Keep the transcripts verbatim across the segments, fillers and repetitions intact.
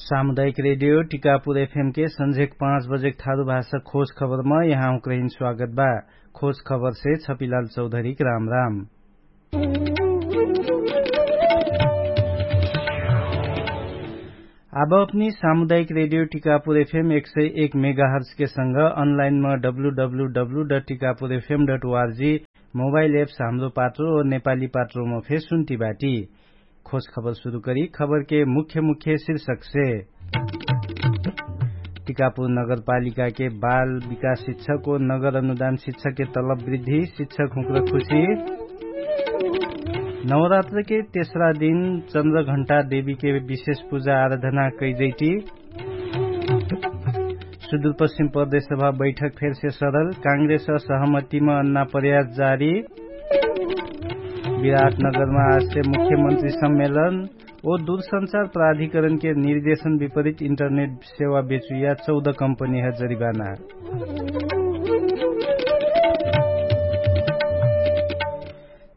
सामुदायिक रेडियो टिकापुर एफएम के सन्झेक पाँच बजेक थारु भाषा खोज खबरमा यहाँहुँक रहिन स्वागत बा। खोज खबरसे छपिलाल चौधरीक राम राम। आब अपनी सामुदायिक रेडियो टिकापुर एफएम एक सय एक मेगाहर्जके संग अनलाइनम W W W dot Tikapur F M dot O R G mobile apps Hamro Patro नेपाली पात्रोम फे सुन्ति बाटी। खोज खबर सुरु करी खबरके मुख्य मुख्य शीर्षकसे। टिकापुर नगरपालिकाके बाल विकास शिक्षक ओ नगर अनुदान शिक्षकके तलब वृद्धि शिक्षक हुँक्र खुशी। नवरात्रके तेस्रा दिन चन्द्रघण्टा देवीके विशेष पुजा आराधना कैजैटी। सुदूरपश्चिम प्रदेशसभा बैठक फेरसे सरल काङ्ग्रेस सहमतिमा अन्ना प्रयास जारी। विराटनगरमा आजसे मुख्यमन्त्री सम्मेलन ओ दूरसञ्चार प्राधिकरणके निर्देशन विपरित इन्टरनेट सेवा बेचुइया चौध कम्पनीह जरिबाना।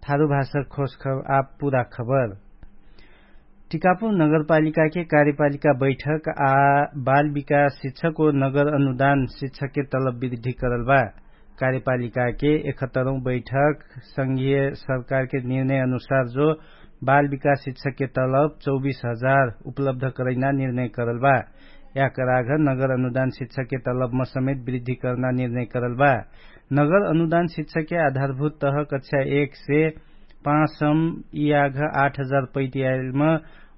थारु भाषा खोज खब आप पुरा खबर। टिकापुर नगरपालिकाके कार्यपालिका बैठक आ बाल विकास शिक्षक ओ नगर अनुदान शिक्षकके तलब वृद्धि करल बा। कार्यपालिकाके एकहत्तरौं बैठक संघीय सरकारके निर्णय अनुसार जो बाल विकास शिक्षकके तलब चौबीस हजार उपलब्ध करैना निर्णय करल बा। याकर आघ नगर अनुदान शिक्षकके तलबमा समेत वृद्धि करना निर्णय करल बा। नगर अनुदान शिक्षकके आधारभूत तह कक्षा एक से पाँच सम यि आघ आठ हजार पैति आइलमा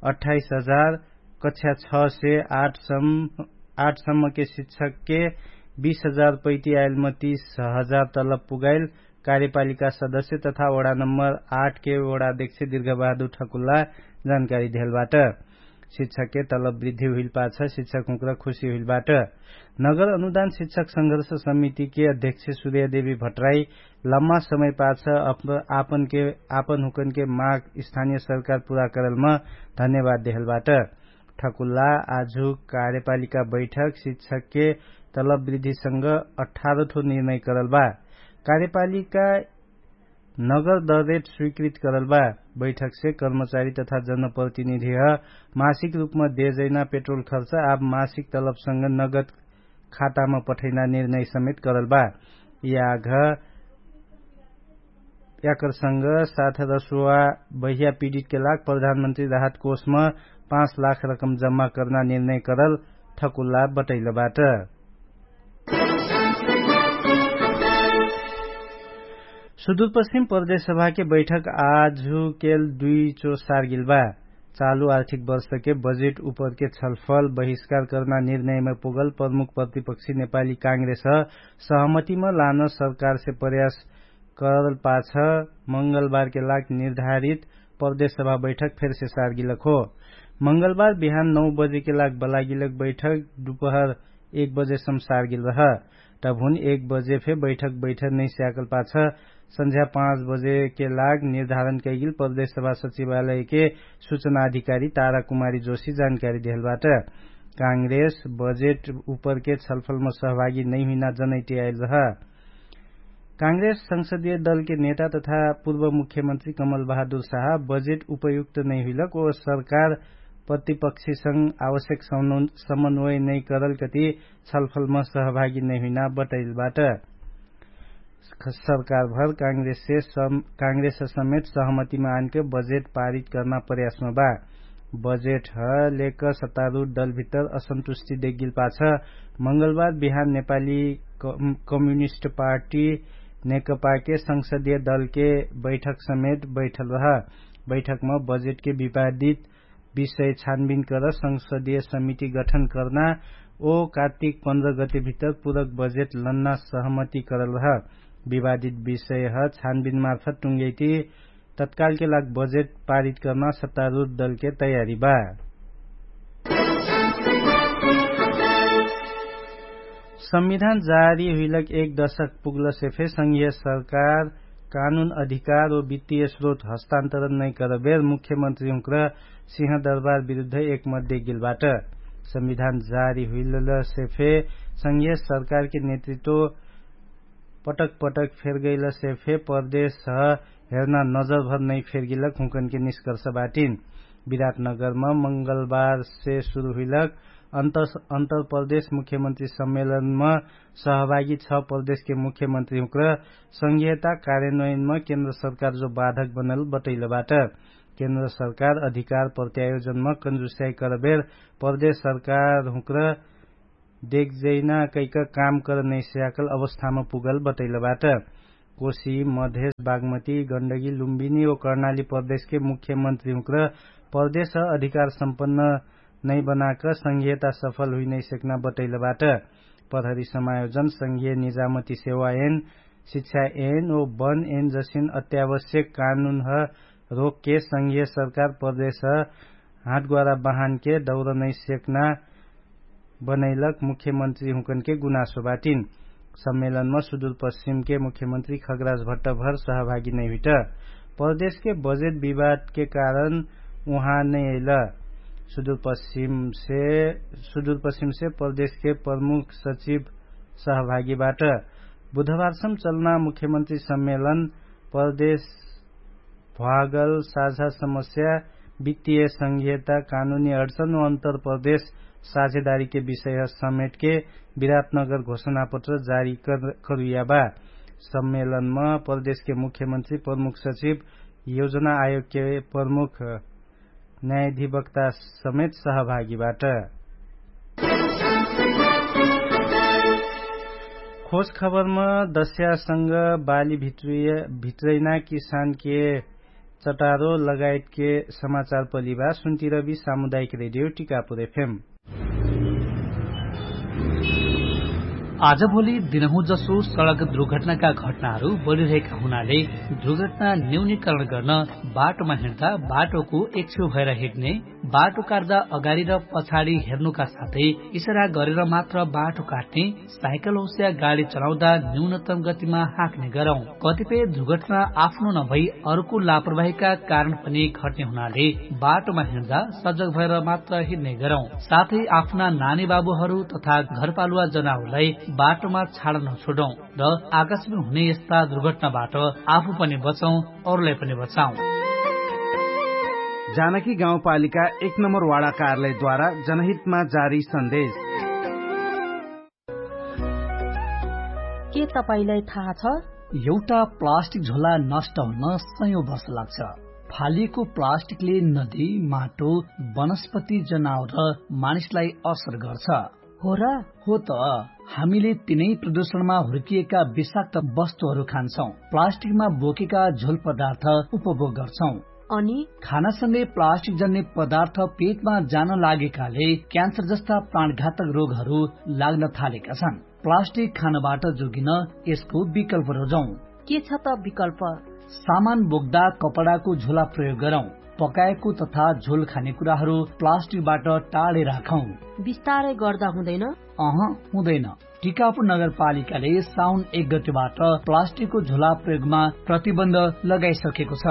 अठाइस हजार, कक्षा छ से आठ सम आठ सम्मके शिक्षकके बीस हजार पैति आइलमा तीस हजार तलब पुगाइल कार्यपालिका सदस्य तथा वडा नम्बर आठ के वडा अध्यक्ष दीर्घबहादुर ठकुल्ला जानकारी देहलबाट। शिक्षकके तलब वृद्धि हुइल पाछ शिक्षक हुँक्र खुशी हुइल बाट। नगर अनुदान शिक्षक संघर्ष समितिके अध्यक्ष सुर्यदेवी भट्राई लम्मा समय पाछ आपनके आपन हुँकनके माग स्थानिय सरकार पुरा करलमा धन्यवाद देहलबाट। ठकुल्ला आजु कार्यपालिका बैठक शिक्षकके तलब वृद्धिसँग अठारठो निर्णय करल बा। कार्यपालिका नगर दरेट स्वीकृत करल बा। बैठकसे कर्मचारी तथा जनप्रतिनिधिह मासिक रूपमा देजैना पेट्रोल खर्च आब मासिक तलबसँग नगद खातामा पठैना निर्णय समेत करल बा। याघ याकरसँग साथ रसुवा बहिया पीडितके लाग प्रधानमन्त्री राहत कोषमा पाँच लाख रकम जम्मा कर्ना निर्णय करल ठकुल्ला बटैलबाट। सुदूरपश्चिम प्रदेशसभाके बैठक आजुकेल दुई चो सारगिल बा। चालु आर्थिक वर्षके बजेट उपरके छलफल बहिष्कार कर्ना निर्णयमा पुगल प्रमुख प्रतिपक्षी नेपाली काङ्ग्रेस सहमतिमा लान सरकारसे प्रयास करल पाछ मंगलबारके लाग निर्धारित प्रदेशसभा बैठक फेरसे सारगिलक हो। मंगलबार बिहान नौ बजेके लाग बलागिलक बैठक दुपहर एक बजे सम सारगिल रह। तबहुन एक बजे फे बैठक बैठक नैस्याकल पाछ सन्झ्या पाँच बजेके लाग निर्धारण कैगिल प्रदेशसभा सचिवालयके सुचना अधिकारी तारा कुमारी जोशी जानकारी देहलबाट। काङ्ग्रेस बजेट उपरके छलफलमा सहभागी नैहुइना जनैटी आइल रह। काङ्ग्रेस संसदीय दलके नेता तथा पूर्व मुख्यमन्त्री कमल बहादुर साहा बजेट उपयुक्त नैहुइलक ओ सरकार प्रतिपक्षीसँग आवश्यक समन्वय नैकरल कति छलफलमा सहभागी नैहुइना बटैलबाट। सरकारभर काङ्ग्रेस समेत सहमतिमा आनके बजेट पारित कर्ना प्रयासमा बा। बजेट ह लेक सत्तारुढ दलभित्तर असन्तुष्टि देगिल पाछ मंगलबार बिहान नेपाली कम्युनिस्ट पार्टी नेकपाके संसदीय दलके बैठक समेत बैठल रह। बैठकमा बजेटके विवादित विषय छानबिन कर संसदीय समिति गठन कर्ना ओ कार्तिक पन्ध्र गते भित्तर पुरक बजेट लन्ना सहमति करल रह। विवादित विषयह छानबिन मार्फत टुङ्गैति तत्कालके लाग बजेट पारित कर्ना सत्तारुढ दलके तयारी बा। संविधान जारी हुइलक एक दशक पुग्लसे फे संघीय सरकार कानुन अधिकार ओ वित्तीय स्रोत हस्तान्तरण नैकरबेर मुख्यमन्त्री हुँक्र सिंहदरबार विरुद्ध एक मध्य गेलबाट। संविधान जारी हुइलसे फे संघीय सरकारके नेतृत्व पटक पटक फेरगैलसे फे परदेश ह हेर्ना नजरभर नै फेरगेलक हुँकनके निष्कर्ष बाटिन। विराटनगरम मंगलबारसे सुरु हुइलक अन्तरप्रदेश मुख्यमन्त्री सम्मेलनम सहभागी छ प्रदेशके मुख्यमन्त्री हुँक्र संघीयता कार्यन्वयनम केन्द्र सरकार जो बाधक बनल बटैलबाट। केन्द्र सरकार अधिकार प्रत्यायोजनम कन्जुस्याइ करबेर प्रदेश सरकार हुँक्र देखजैना कैक काम कर नैस्याकल अवस्थाम पुगल बटैलबाट। कोशी मधेश बागमती गण्डगी लुम्बिनी ओ कर्णाली प्रदेशके मुख्यमन्त्री हुँक्र प्रदेश अधिकार सम्पन्न नैबनाक संघीयता सफल हुइनैसेक्ना बटैलबाट। प्रहरी समायोजन संघीय निजामती सेवा एन शिक्षा एन ओ बन एन जसिन अत्यावश्यक कानुनह रोकके संघीय सरकार प्रदेश हाटग्वारा बहानके दौर नैसेक्ना बनैलक मुख्यमन्त्री हुँकनके गुनासो बाटिन। सम्मेलनमा सुदुरपश्चिमके मुख्यमन्त्री खगराज भट्टभर सहभागी नैहुइट। प्रदेशके बजेट विवादके कारण उहाँ नैअइल। सुदुरपश्चिमसे प्रदेशके प्रमुख सचिव सहभागीबाट बुधबारसम चलना मुख्यमन्त्री सम्मेलन प्रदेश भ्वागल साझा समस्या वित्तीय संघीयता कानुनी अडसन ओ अन्तरप्रदेश साझेदारीके विषय समेटके विराटनगर घोषणापत्र जारी करुइयाबा। सम्मेलनमा प्रदेशके मुख्यमन्त्री प्रमुख सचिव योजना आयोगके प्रमुख न्यायाधिवक्ता समेत सहभागीबाट। खोज खबरमा दस्यासँग बाली भित्रैना किसानके चटारो लगायतके समाचार पलिबा सुन्तिरबी सामुदायिक रेडियो टिकापुर एफएम। आजभोलि दिनहुँ जसो सडक दुर्घटनाका घटनाहरू बढिरहेका हुनाले दुर्घटना न्यूनीकरण गर्न बाटोमा हिँड्दा बाटोको एकछेउ भएर हिँड्ने, बाटो काट्दा अगाडि र पछाडि हेर्नुका साथै इसारा गरेर मात्र बाटो काट्ने, साइकल होस्या गाडी चलाउँदा न्यूनतम गतिमा हाँक्ने गरौँ। कतिपय दुर्घटना आफ्नो नभई अर्को लापरवाहीका कारण पनि घट्ने हुनाले बाटोमा हिँड्दा सजग भएर मात्र हिँड्ने गरौँ। साथै आफ्ना नानी बाबुहरू तथा घरपालुवा जनावरलाई बाटोमा छाड नछोडौँ र आकाशमा हुने यस्ता दुर्घटनाबाट आफू पनि बचौँ, अरूलाई पनि बचाउँ। जानकी गाउँपालिका एक नम्बर वाडा कार्यालयद्वारा जनहितमा जारी सन्देश। के तपाईंलाई थाहा छ? एउटा प्लास्टिक झोला नष्ट हुन सयौं वर्ष लाग्छ। फालिएको प्लास्टिकले नदी, माटो, वनस्पति, जनावर र मानिसलाई असर गर्छ। हो र? हो त। हामीले तिनै प्रदूषणमा हुर्किएका विषाक्त वस्तुहरू खान्छौं, प्लास्टिकमा बोकेका झोल पदार्थ उपभोग गर्छौं। अनि खानासँगै प्लास्टिक जन्ने पदार्थ पेटमा जान लागेकाले क्यान्सर जस्ता प्राणघातक रोगहरू लाग्न थालेका छन्। प्लास्टिक खानबाट जोगिन यसको विकल्प रोजौं। के छ त विकल्प? सामान बोक्दा कपडाको झोला प्रयोग गरौं। पकाएको तथा झोल खाने कुराहरू प्लास्टिकबाट टाढे राखौं। बिस्तारै गर्दा हुँदैन? अह, हुँदैन। टिकापुर नगरपालिकाले साउन एक गतिबाट प्लास्टिकको झोला प्रयोगमा प्रतिबन्ध लगाइसकेको छ।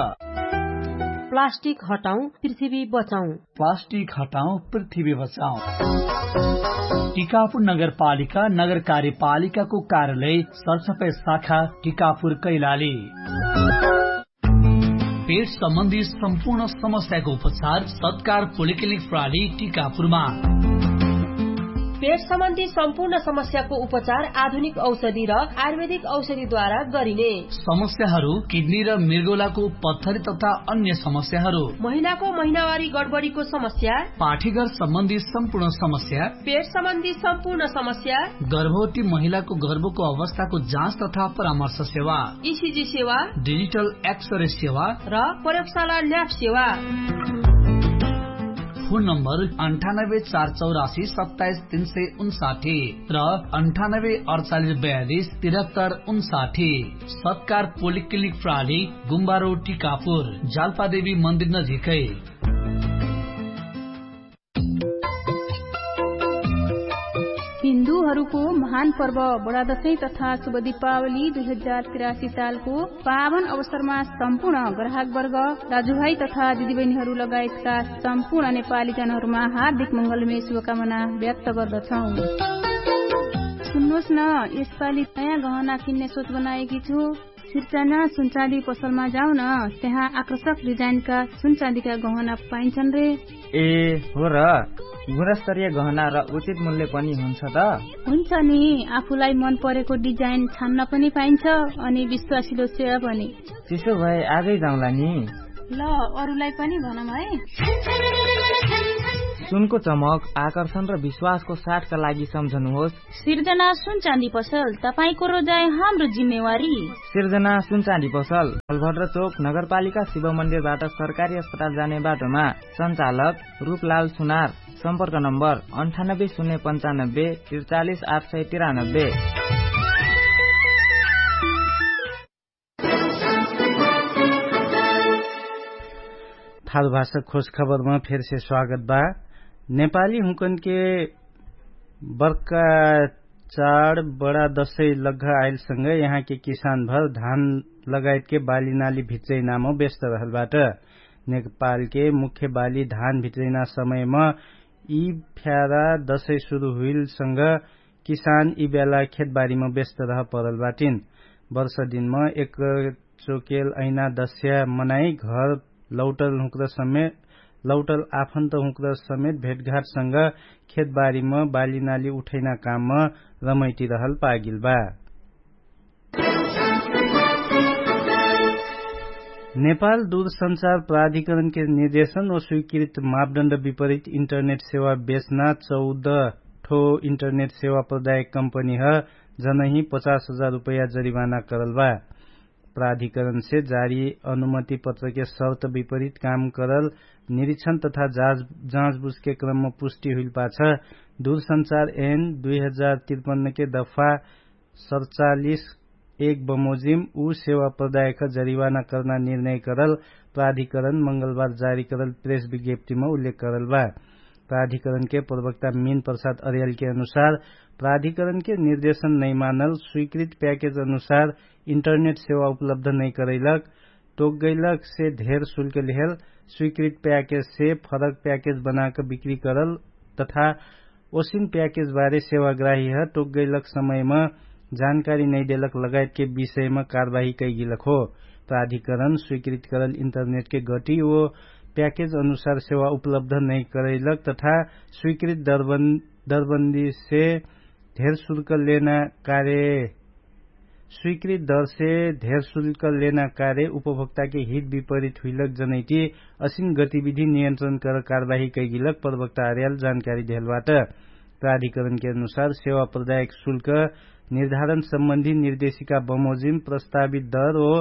प्लास्टिक हटाउँ, पृथ्वी बचाउँ। प्लास्टिक हटाउँ, पृथ्वी बचाउँ। टिकापुर नगरपालिका नगरकार्यपालिकाको कार्यालय सरसफाई शाखा टिकापुर कैलाली। पेट सम्बन्धी सम्पूर्ण समस्याको उपचार सत्कार पोलिक्लिनिक प्रणाली टिकापुरमा। पेट सम्बन्धी सम्पूर्ण समस्याको उपचार आधुनिक औषधि र आयुर्वेदिक औषधिद्वारा गरिने। समस्याहरू किडनी र मृगौलाको पत्थरी तथा अन्य समस्याहरू, महिनाको महिनावारी गडबडीको समस्या, पाठीघर सम्बन्धी सम्पूर्ण समस्या, पेट सम्बन्धी सम्पूर्ण समस्या, गर्भवती महिलाको गर्भको अवस्थाको जाँच तथा परामर्श सेवा, इसिजी सेवा, डिजिटल एक्सरे सेवा र प्रयोगशाला ल्याब सेवा। फोन नम्बर अन्ठानब्बे चार चौरासी सत्ताइस तीन सय उन्साठी र अन्ठानब्बे अडचालिस बयालिस तिरहत्तर उन्साठी। सत्कार पोलिक्लिनिक प्रणाली, गुम्बारो टिकापुर, जाल्पादेवी मन्दिर नजिकै। हिन्दूहरूको महान पर्व बडादशैं तथा शुभ दीपावली दुई हजार तिरासी सालको पावन अवसरमा सम्पूर्ण ग्राहकवर्ग, दाजुभाइ तथा दिदीबहिनीहरू लगायतका सम्पूर्ण नेपालीजनहरूमा हार्दिक मङ्गलमय शुभकामना व्यक्त गर्दछौँ। सुन्नुहोस् न, यसपालि नयाँ गहना किन्ने सोच बनाएकी छु। सिर्जना सुनचाँदी पसलमा जाउन, त्यहाँ आकर्षक डिजाइनका सुनचाँदीका गहना पाइन्छन् रे। ए हो र, गुणस्तरीय गहना र उचित मूल्य पनि हुन्छ त? हुन्छ नि, आफूलाई मन परेको डिजाइन छान्न पनि पाइन्छ, अनि विश्वासिलो सेवा पनि। त्यसो भए आजै जाउँला नि। ल, अरूलाई पनि भनौँ है। सुनको चमक, आकर्षण र विश्वासको साथका लागि सम्झनुहोस्। सिर्जना सुनचाँदी पसल, तपाईंको रोजाइ हाम्रो जिम्मेवारी। सिर्जना सुनचाँदी पसल, बलभद्र चोक, नगरपालिका शिव मन्दिरबाट सरकारी अस्पताल जाने बाटोमा। सञ्चालक रूपलाल सुनार। सम्पर्क नम्बर अन्ठानब्बे शून्य पन्चानब्बे त्रिचालिस आठ सय तिरानब्बे। थारुभाषा खोज खबरमा फेरसे स्वागत बा। नेपाली हुँकनके बर्का चाड बडा दशै लग्घा आइलसँग यहाँके किसानभर धान लगायतके बालीनाली भिच्चैनाम व्यस्त रहलबाट। नेपालके मुख्य बाली धान भिच्चैना समयमा यि फ्यारा दशै सुरु हुइलसँग किसान यि बेला खेतबारीमा व्यस्त रह परलबाटिन। वर्ष दिनमा एक चोकेल ऐना दस्या मनाइ घर लौटल हुँक्र समेत लौटल आफन्त हुँक्र समेत भेटघाटसँग खेतबारीमा बालीनाली उठैना काममा रमैटी रहल पागिल बा। नेपाल दूरसञ्चार प्राधिकरणके निर्देशन व स्वीकृत मापदण्ड विपरीत इन्टरनेट सेवा बेच्ना चौध ठो इन्टरनेट सेवा प्रदायक कम्पनीह जनही पचास हजार रुपैया जरिवाना करल बा। प्राधिकरणसे जारी अनुमति पत्रके शर्त विपरीत काम करल निरीक्षण तथा जाँचबुझके क्रममा पुष्टि हुइल पाछ दूरसञ्चार एन दुई हजार तिरपन्नके दफा सतचालिस एक बमोजिम उ सेवा प्रदायक जरिवाना कर्ना निर्णय करल प्राधिकरण मंगलबार जारी करल प्रेस विज्ञप्तिमा उल्लेख करल बा। प्राधिकरणके प्रवक्ता मिन प्रसाद अर्यालके अनुसार प्राधिकरणके निर्देशन नैमानल स्वीकृत प्याकेज अनुसार इन्टरनेट सेवा उपलब्ध नैकरैलक टोकगैलकसे धेर शुल्क लिहेल स्वीकृत प्याकेजसे फरक प्याकेज बनाक बिक्री करल तथा ओसिन प्याकेजबारे सेवाग्राहीह टोकगैलक समयमा जानकारी नैदेलक लगायतके विषयमा कारवाही कैगिलक हो। प्राधिकरण स्वीकृत करल इन्टरनेटके गटी ओ प्याकेज अनुसार सेवा उपलब्ध नैकरैलक तथा स्वीकृत दरबन्दीसे धेर शुल्क लेना कार्य स्वीकृत दरसे धेर शुल्क लेना कार्य उपभोक्ताके हित विपरीत हुइलक जनैटी असिन गतिविधि नियन्त्रण कर कारवाही कैगिलक प्रवक्ता आर्याल जानकारी देहलबाट। प्राधिकरणके अनुसार सेवा प्रदायक शुल्क निर्धारण सम्बन्धी निर्देशिका बमोजिम प्रस्तावित दर ओ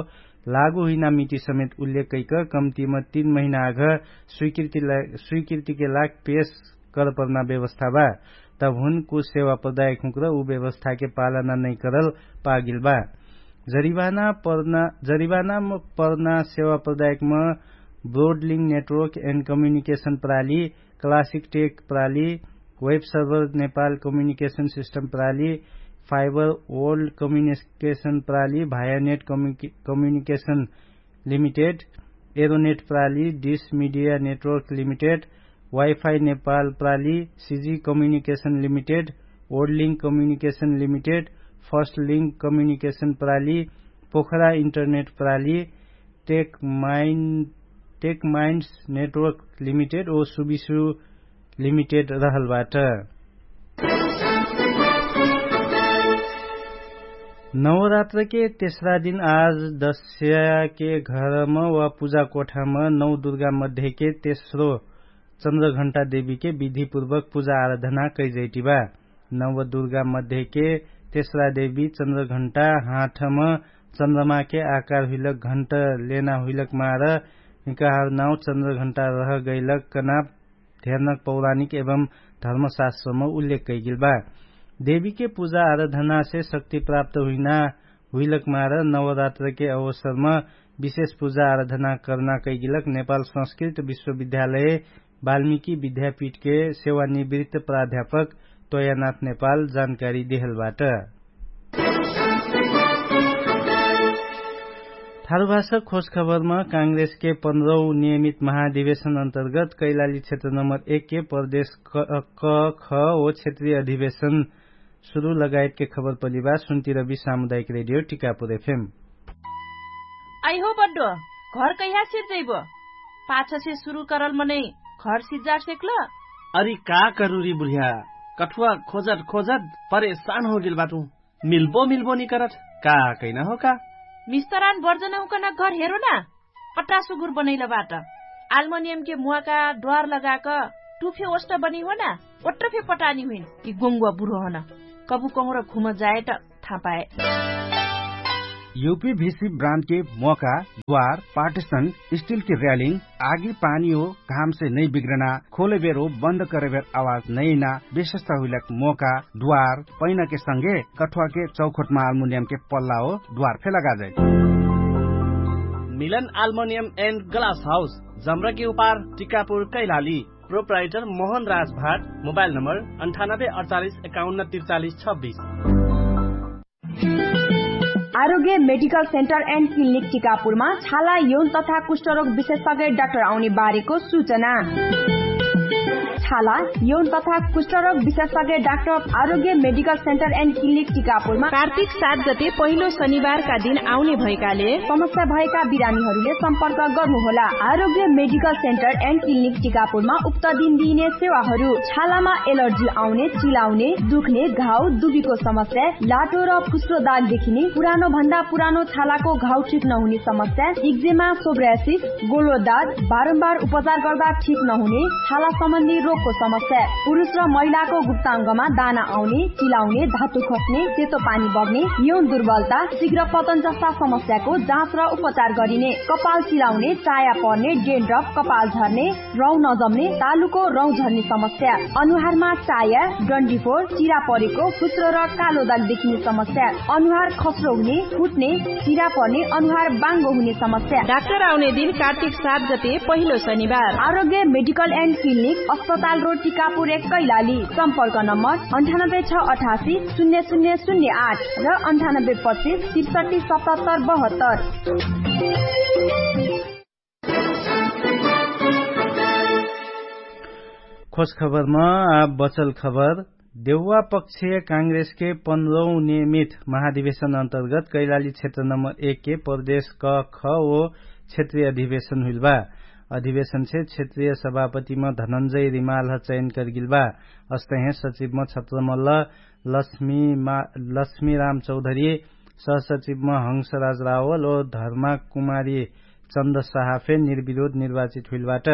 लागु हुइना मिति समेत उल्लेख कैक कम्तिम तीन महिना आघ स्वीकृतिके लाग पेश करपर्ना व्यवस्था बा। तबहुन कुछ सेवा प्रदायक हुँक्र उ व्यवस्थाके पालना नैकरल पागिल बा। जरिवाना पर्ना सेवा प्रदायकम ब्रोडलिङ नेटवर्क एन्ड कम्युनिकेशन प्राली, क्लासिक टेक प्राली, websurfer Nepal communication system प्राली, फाइबर वर्ल्ड कम्युनिकेशन प्राली, भायानेट कम्युनिकेशन लिमिटेड, एरोनेट प्राली, dish media network limited, wifi Nepal प्राली, CG communication limited, world link communication limited, first link communication प्राली, Pokhara internet प्राली, tech minds network limited ओ Subisu limited रहलबाट। नवरात्रके तेस्रा दिन आज दस्याके घरम वा पुजा कोठाम नौ दुर्गा मध्येके तेस्रो चन्द्रघण्टा देवीके विधिपूर्वक पुजा आराधना कैजैटिबा। नव दुर्गा मध्येके तेस्रा देवी चन्द्रघण्टा हाठम चन्द्रमाके आकार हुइलक घण्ट लेना हुइलक मार हिकहार नाउ चन्द्रघण्टा रहगैलक कनाप धेर्नक पौराणिक एवं धर्मशास्त्रमा उल्लेख कैगिल बा। देवीके पुजा आराधनासे शक्ति प्राप्त हुइना हुइलक मार नवरात्रके अवसरमा विशेष पुजा आराधना कर्ना कैगिलक नेपाल संस्कृत विश्वविद्यालय वाल्मिकी विद्यापीठके सेवानिवृत्त प्राध्यापक तोयानाथ नेपाल जानकारी देहलबाट। थारुभाषा खोजखबरमा काङ्ग्रेसके पन्ध्रौ नियमित महाधिवेशन अन्तर्गत कैलाली क्षेत्र नम्बर एकके प्रदेश क ख ओ क्षेत्रीय अधिवेशन सुरु लगायतके खबर पलिबा सुन्तिरबी सामुदायिक रेडियो टिकापुर एफएम। अइहो बड्डो, घर कहिया सिर्जैबो? पाछसे सुरु करल मनै घर सिज्जार सेक्ल? अरि का करुरी बुढिया, कठुवा खोजत खोजत परेशान होगेल बाटु। मिल्बो मिल्बो निकरत, का कैना हो का? मिस्तरान बर्जन हुकन घर हेरो ना। पट्टा सुगुर बनैल बाट। आल्मोनियमके मुवाका ड्वार लगाक टुफे ओष्ट बनी हो ना। ओट्ट फे पटानी हुइन कि गोङ्गुवा बुढो हन। कबु कहुँर घुम जाए त थापाए। युपी भिसी ब्रान्डके मोका, द्वार, पार्टिसन, स्टिलके र्यालिङ, आगी पानी हो, घामसे नै बिग्रना, खोलेबेर हो बन्द करेबेर आवाज नैना, विशेषता हुइलक मोका, द्वार, पैनाके संगे कठुवाके चौखोटमा आल्मुनियमके पल्ला हो, द्वार फे लगाजै। मिलन आल्मुनियम एन्ड ग्लास हाउस, जम्रकी उपार, टिकापुर, कैलाली। प्रोप्राइटर मोहन राज भाट। मोबाइल नम्बर अन्ठानब्बे अडचालिस एकाउन्न त्रिचालिस छब्बिस। आरोग्य मेडिकल सेन्टर एन्ड क्लिनिक टिकापुरमा छाला यौन तथा कुष्ठरोग विशेषज्ञ डाक्टर आउने बारेको सूचना। छाला यौन तथा कुष्ठरोग विशेषज्ञ डाक्टर आरोग्य मेडिकल सेन्टर एन्ड क्लिनिक टिकापुरमा कार्तिक सात गते पहिलो शनिबारका दिन आउने भएकाले समस्या भएका बिरामीहरूले सम्पर्क गर्नुहोला। आरोग्य मेडिकल सेन्टर एन्ड क्लिनिक टिकापुरमा उक्त दिन दिइने सेवाहरू छालामा एलर्जी आउने, चिलाउने, दुख्ने, घाउ, दुबीको समस्या, लाटो र फुस्रो दाग देखिने, पुरानो भन्दा पुरानो छालाको घाउ ठिक नहुने समस्या, इक्जेमा, सोब्रासिस, गोलो दाग, बारम्बार उपचार गर्दा ठिक नहुने छाला सम्बन्धी रोगको समस्या, पुरुष र महिलाको गुप्ताङ्गमा दाना आउने, चिलाउने, धातु खस्ने, सेतो पानी बग्ने, यौन दुर्बलता, शीघ्र पतन जस्ता समस्याको जाँच र उपचार गरिने, कपाल चिलाउने, चाया पर्ने, डेन्ड्रफ, कपाल झर्ने, रौँ नजम्ने, तालुको रौँ झर्ने समस्या, अनुहारमा चाया, डन्डीफोर, चिरा परेको, फुस्रो र कालो दाग देखिने समस्या, अनुहार खस्रो हुने, फुट्ने, चिरा पर्ने, अनुहार बाङ्गो हुने समस्या। डाक्टर आउने दिन कार्तिक सात गते पहिलो शनिबार। आरोग्य मेडिकल एन्ड क्लिनिक, अस्पताल रोड, टिकापुर एक, कैलाली। सम्पर्क नम्बर अन्ठानब्बे छ अठासी शून्य शून्य शून्य आठ र अन्ठानब्बे पच्चिस त्रिसठी सतहत्तर बहत्तर। खोज खबरमा आब बचल खबर। देउवा पक्ष काङ्ग्रेसके पन्ध्रौँ नियमित महाधिवेशन अन्तर्गत कैलाली क्षेत्र नम्बर एक के प्रदेश क ख ओ क्षेत्रीय अधिवेशन हुइल बा। अधिवेशन से क्षेत्रीय सभापतिमा धनन्जय रिमालह चयन करगिल बा। अस्तहे सचिवमा छत्रमल्ल लक्ष्मी राम चौधरी, सहसचिवमा हंसराज रावल ओ धर्माकुमारी चन्द साहा फे निर्विरोध निर्वाचित हुइल बाट।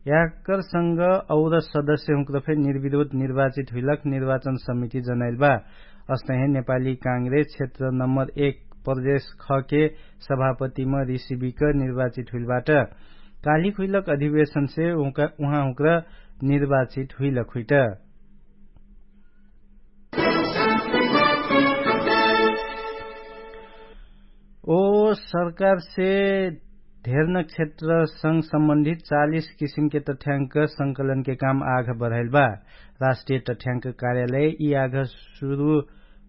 याकरसँग और सदस्य हुँक्र फे निर्विरोध निर्वाचित हुइलक निर्वाचन समिति जनाइल बा। अस्तहे नेपाली काङ्ग्रेस क्षेत्र नम्बर एक प्रदेश खके सभापतिमा रिसिबिक निर्वाचित हुइल बाट। कालिक हुइलक अधिवेशनसे उहाँ हुँक्र निर्वाचित हुइलक हुइट। ओ सरकारसे धेर्न क्षेत्र संग सम्बन्धित चालिस किसिमके तथ्यांक संकलनके काम आघ बढाइल बा। राष्ट्रिय तथ्यांक कार्यालय यि आघ सुरु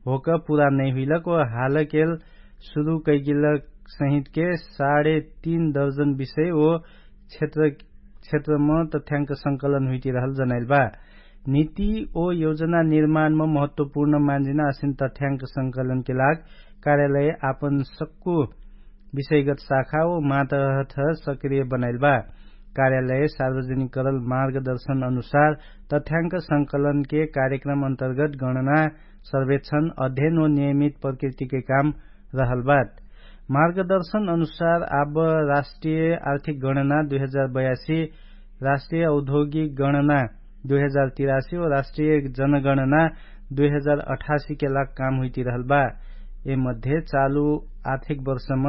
होक पुरा नैहुइलक ओ हालकेल सुरु कैगिलक सहितके साढे तीन दर्जन विषय ओ क्षेत्र क्षेत्रम तथ्यांक संकलन हुइतिरहल जनाइल बा। नीति ओ योजना निर्माणम महत्वपूर्ण मान्जिना असिन तथ्यांक संकलनके लाग कार्यालय आपन सक्कु विषयगत शाखा ओ मातहत सक्रिय बनाइल बा। कार्यालय सार्वजनिक करल मार्गदर्शन अनुसार तथ्यांक संकलनके कार्यक्रम अन्तर्गत गणना सर्वेक्षण अध्ययन ओ नियमित प्रकृतिके काम रहल बात। मार्गदर्शन अनुसार आब राष्ट्रिय आर्थिक गणना दुई हजार बयासी, राष्ट्रिय औद्योगिक गणना दुई हजार तिरासी ओ राष्ट्रिय जनगणना दुई हजार अठासी के लाग काम हुइतिरहल बा। ए मध्ये चालु आर्थिक वर्षम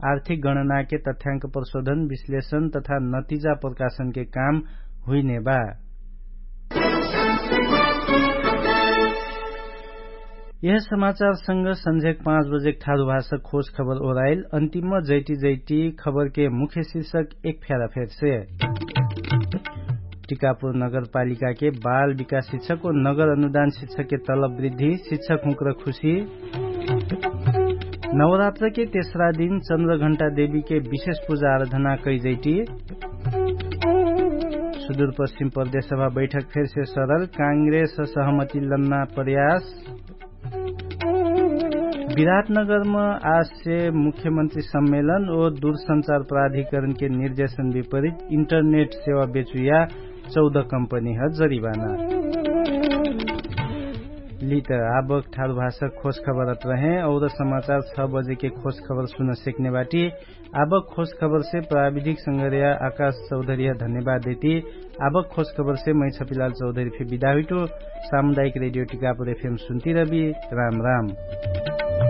आर्थिक गणनाके तथ्यांक प्रशोधन विश्लेषण तथा नतिजा प्रकाशनके काम हुइने बा। यह समाचारसँग सन्झेक पाँच बजेक ठारु भाषा खोज खबर ओराइल अन्तिम जैटी जैटी खबरके मुख्य शिर्षक एक फ्यारा फेरसे। टिकापुर नगरपालिकाके बाल विकास शिक्षक ओ नगर अनुदान शिक्षकके तलब वृद्धि शिक्षक हुँक्र खुशी। नवरात्रके तेस्रा दिन चन्द्रघण्टा देवीके विशेष पुजा आराधना कैजैटी। सुदूरपश्चिम प्रदेशसभा बैठक फेरसे सरल काङ्ग्रेस सहमति लन्ना प्रयास। विराटनगरम आसे मुख्यमन्त्री सम्मेलन ओ दुरसंचार प्राधिकरणके निर्देशन विपरित इन्टरनेट सेवा बेचुया चौध कम्पनीह जरिबाना। लित आबक ठारु भाषा खोजखबर अत रहे और समाचार छ बजेके खोजखबर सुन सेक्ने बाटी। आबक खोजखबरसे प्राविधिक संगर्या आकाश चौधर्या धन्यवाद देती। आबक खोजखबरसे मै छपिलाल चौधरी फे बिदाहुइटो। सामुदायिक रेडियो टिकापुर एफएम सुन्ती रबी। राम राम।